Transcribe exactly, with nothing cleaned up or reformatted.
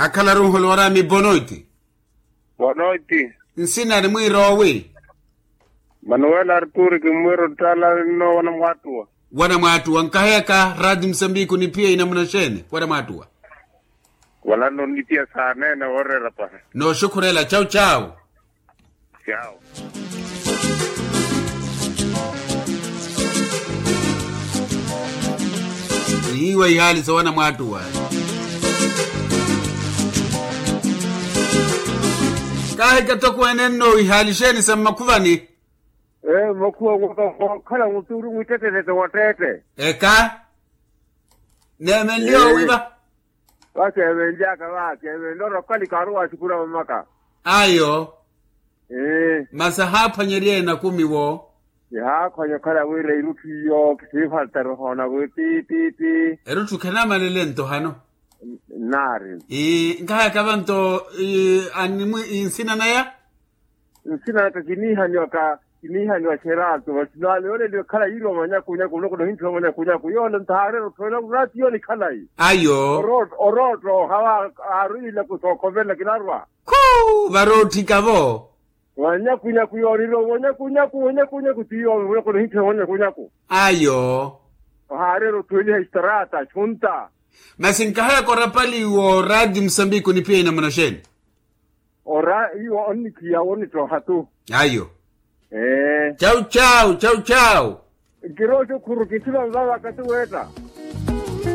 Akhala runholo warami bonoiti. Bonoiti. Nsina ni mwiiroowi. Manuel arturi kimwiiro ttala nno wanamwaattuwa. Wanamwaattuwa nkaheyaka rati musambiki onipiya inamuna xeeni wanamwaattuwa. Wala nonipiya saaneene wooreera pahi. Nooxukhurela chau chau. Chau. Nihiwa ihaali sa wanamwaattuwa. Kaahika tokweene nno ihaali xeeni sa mmakhuvani. Ee mmakhuva mwaaka mwaakhala mutuuru mwittettettette watteette. Eka. Neemenliwa wiiva. Vakeevenlyaka vakeevenlya orowa okali kaaruwa axukura vammaka. Ayo. Masi ahaaphwanyerye ena kumiwo. Kihaakhwanya okhala wira erutthu iyo kisiifaltari ohoona wi pi pi pi. Erutthu khanamalela ento hano. Nnaari. Nkahayaka vanto. Animwi nsina naya. Nsina naka kiniihaniwaka kiniihaniwa xerato vasinaale yooleliwa ekhala yiiriwa mwanyakunyaku nloko nohintthiwa mwanyakunyaku yoole ntaareera otthowelela kuraati yoole ekhalayi. Ayo. Orootta ohawa aaru ilaku sookhovelela kinarwa. Khu. Varootthika-vo. Wanyakunyaku yooriiriwa wanyakunyaku wanyakunyaku ti yoomi muloko nohintthiwa wanyakunyaku. Ayo. Ohaareera otthuweliha extraata xunta. Masi nkahayaka orapali wooraati musambiki onipiya inamuna xeeni? Ora iwo onnikhiya wonittoha tu. Ayo. Ee. Chau chau chau chau. Nkirooxukhuru kithima nvavaka ti weetta.